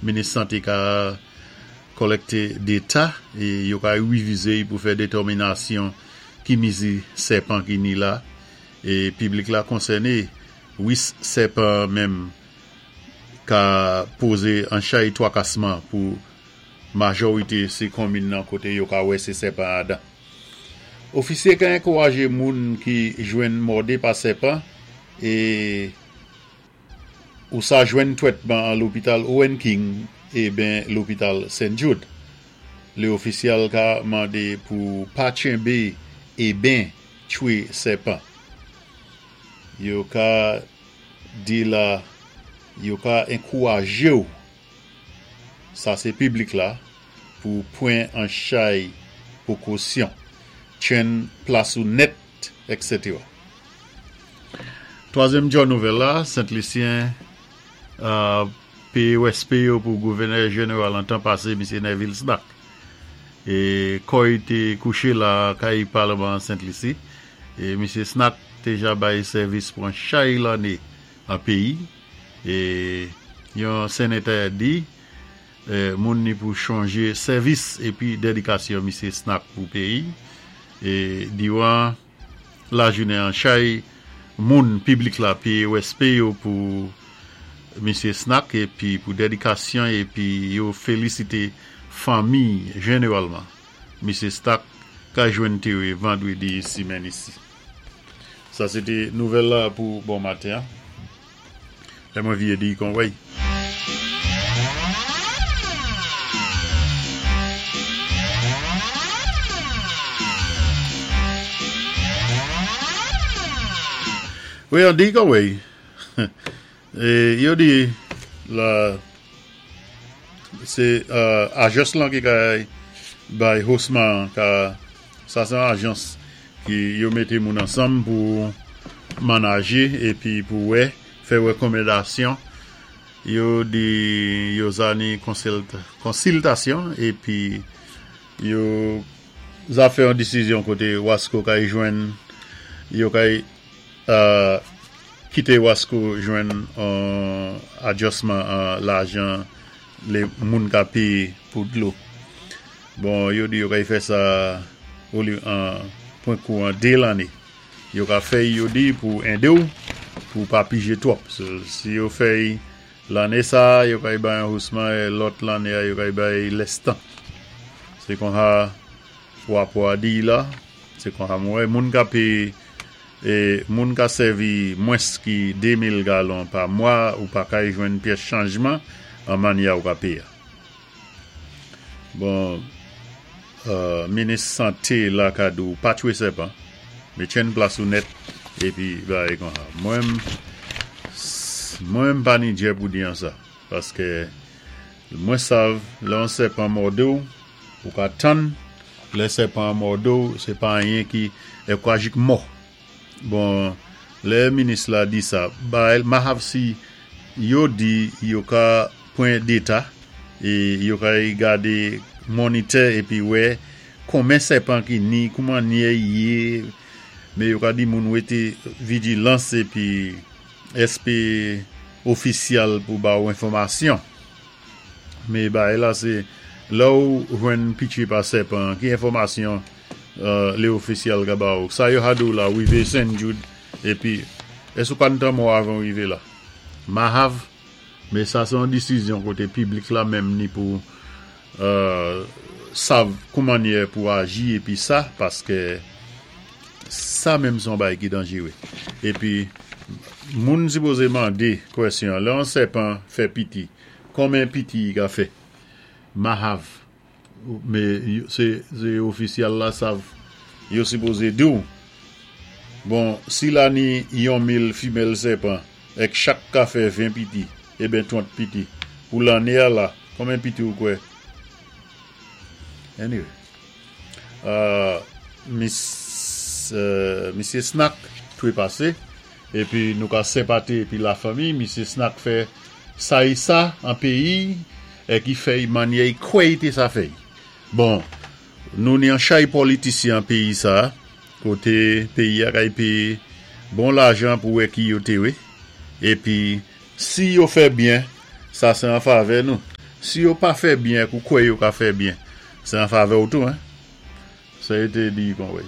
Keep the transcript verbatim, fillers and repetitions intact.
Minis santé ka kolèkté déta é yo ka wévizé pou fè détèminasyon ki mizi sèpan ki ni la é piblik la konsèné wis sèpan menm ka pozé an chay twakasman pou majorité sé konmin nan koté yo ka wè sé sèpan adan. Ofisyé ka ankourajé moun ki jwenn mòdé pa sèpan é ou sa jwenn twètman an lopital Owen King é ben lopital Saint Jude. Lé ofisyal ka mandé pou pa tchenbé é ben tchwé sèpan. Yo ka di la, yo ka ankourajé-w, sa sé piblik la, pou pwan an chay pwékosyon, tchenn plas ou nèt, et cetera. Twazyèm djò nouvèl la, Sent Lisyen euh, péyé wèspé yo pou gouvènè jénéral an tan pasé, Misyé Neville Snack. É kò-y té kouché la kay palman Sent Lisi. É Misyé Snack té ja bay sèvis pou an chay lanné an péyi. É yon sénatè di, euh, moun ni pou chonjé sèvis épi dédikasyon Misyé Snack pou péyi. É diwan la jounen an chay moun piblik la péyé wèspé yo pou Misyé Snack épi pou dédikasyon épi yo félisité fanmi jénéralman. Misyé Snack ka jwenn téré vandwédi simenn isi. Sa sé té nouvèl la pou bon maten. Lè mwen vyé di kon wèy. Wi, an di kon wèy. É yo di la sé euh, ajans lan ki kay bay hosman ka sa sé an ajans ki yo mété moun ansanm pou manajé épi pou wè fè wékonmandasyon. Yo di yo zani konsiltasyon épi yo za fè an disizyon koté Wasco kay jwenn yo kay euh, kité Wasco jwenn an adjustman an lajan lé moun ka péyé pou dlo. Bon, yo di yo kay fè sa ou li an pwen kou an dé lanné. Yo ka fè yo di pou édé ou pou pa pijé twòp. So, si yo fè lanné sa, yo kay bay an hosman é lòt lanné a yo kay bay lès tan. Sé kon sa wapò a di la, sé kon sa mwen moun ka péyé é moun ka sèvi mwens ki de mil galon pa mwa ou pa kay jwenn pyès chanjman an manyè ou ka péyé. Bon, euh, minis santé la ka di ou pa tchwé sèpan, mé tchenn plas ou nèt épi bagay kon sa. Mwen mwen pa ni djè pou di an sa paské mwen sav lè an sèpan mòdé ou, ou ka tann lè sèpan mòdé ou, sé pa anyen ki é kwa jik mò. Bon, lè minis la di sa, ba mahav si yo di yo ka pwan déta é yo ka gadé monitè épi wè konmen sèpan ki ni, kouman nye yé, mé yo ka di moun wété vijilans épi èspé ofisyal pou ba ou enfòmasyon. Mé bagay la sé lè ou jwenn pitché pa sèpan, ki enfòmasyon euh, lé ofisyal ka ba ou. Sa yo ka di ou la, wivé Saint Jude, épi èsk ou pa mò avan wivé la? Mahav, mé sa sé an disizyon koté piblik la menm ni pou euh, sav kouman yé pou aji épi sa, paské sa menm son bagay ki danjéwé. Épi, moun sipozé mandé kwèsyon, lè an sèpan fè piti, konmen piti i ka fè? Mahav. Mé sé, sé ofisyal la sav, yo sipozé di ou. Bon, si la ni yon mil fimèl sèpan, èk chak ka fè ven piti, é ben twant piti, pou lanné a la, konmen piti ou kwè? Anyway. Euh, Miss, euh, Misyé Snack twé pasé, épi nou ka senpaté épi la fanmi, Misyé Snack fè sa é sa an péyi, é ki fè manyè kwè té sa fè. Bon, nou ni an chay politisyen an péyi sa, koté péyi a kay péyé bon lajan pou wè ki yo té wé. Épi, si yo fè byen, sa sé an favè nou. Si yo pa fè byen, ou kwè yo ka fè byen, sé an favè ou tou, hein. Sa yo té di kon wè.